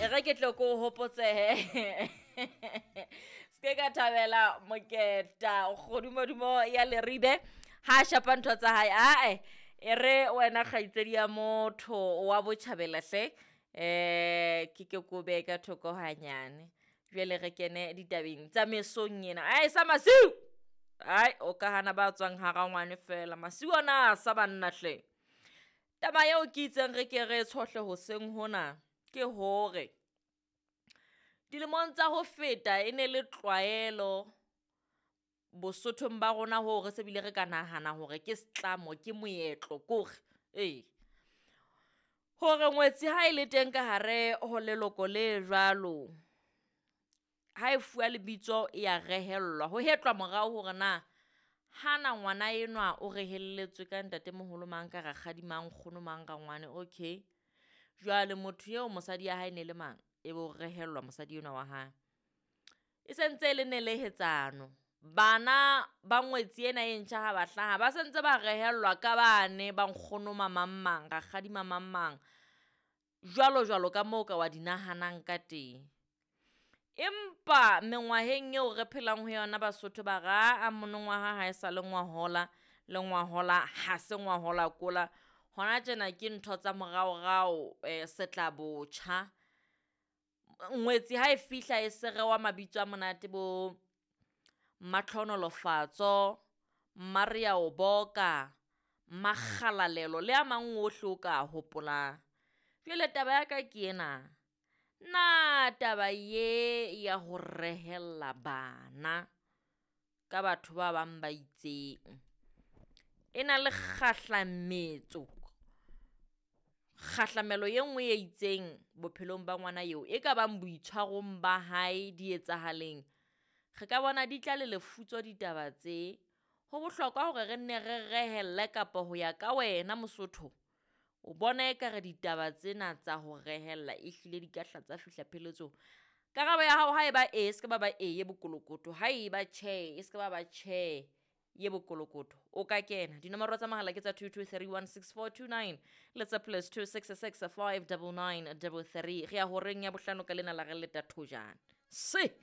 E re ke tlo ko hopotsehe. Se ke ka thabela moketa kgodumodumo ya Leribe ha shapa ntho tsa hae. Ae, e re wena kgaitsedi ya motho wa botjhabela hle. Ke ke ko behe ka thoko hanyane. Jwale re kene ditabeng tsa mesong ena. Ae sa masiu. Ai o ka hana ba tswang ha rangwane fela. Masiu ona a sa banna hle. Taba eo ke itseng re ke re tshohle hoseng hona ke hore dilemong tsa ho feta e ne le tlwaelo Bosothong ba rona hoo re se bile re ka nahana hore ke setlamo ke moetlo kore, ee. Hore ngwetsi ha e le teng ka hare ho leloko le jwalo, ha e fuwa lebitso ya rehellwa, ho hetlwa morao hore na hana ngwana enwa o rehelletswe ka ntatemoholo mang, ka rakgadi mang, nkgono mang, rangwane. Okay, jwale motho eo mosadi ya hae e ne le mang? E be o rehellwa mosadi enwa wa hae. E sentse e le nelehetsano, bana ba ngwetsi ena e ntjha ha ba hlaha ba sentse ba rehellwa ka bane ba nkgono mamang mang, rakgadi mamang mang, jwalo jwalo ka moo o ka wa di nahanang ka teng. Empa mengwaheng eo re phelang ho yona Basotho ba re aa monongwaha ha e sa le ngwahola, le ngwahola ha se ngwahola kola. Hona tjena ke ntho tsa moraorao setla botjha. Ngwetsi ha e fihla e se rewa mabitso a monate bo Mmatlhonolofatso, Mmareaoboka, Mmakgalalelo le a mang ohle o ka hopolang. Jwale taba ya ka ke ena, na taba ye ya ho rehella bana ka batho ba bang ba itseng, e na le kgahlametso, kgahlamelo e nngwe e itseng bophelong ba ngwana eo? E ka bang boitshwarong ba hae di etsahaleng? Re ka bona di tla le lefutso ditaba tse. Ho bohlokwa hore re nne re rehelle kapa ho ya ka wena Mosotho, o bona ekare ditaba tsena tsa ho rehella ehlile di ka hla tsa fihla pheletsong? Karabo ya hao ha e ba ee, e se ke ba ba ee e bokolokoto, ha e ba tjhe, e se ke ba ba tjhe ye bokolokoto. O ka kena, dinomoro tsa mohala ke tsa 22316429 le tsa +266 599 33. Re ya horeng ya bohlano ka lena la re leta thojana. Se!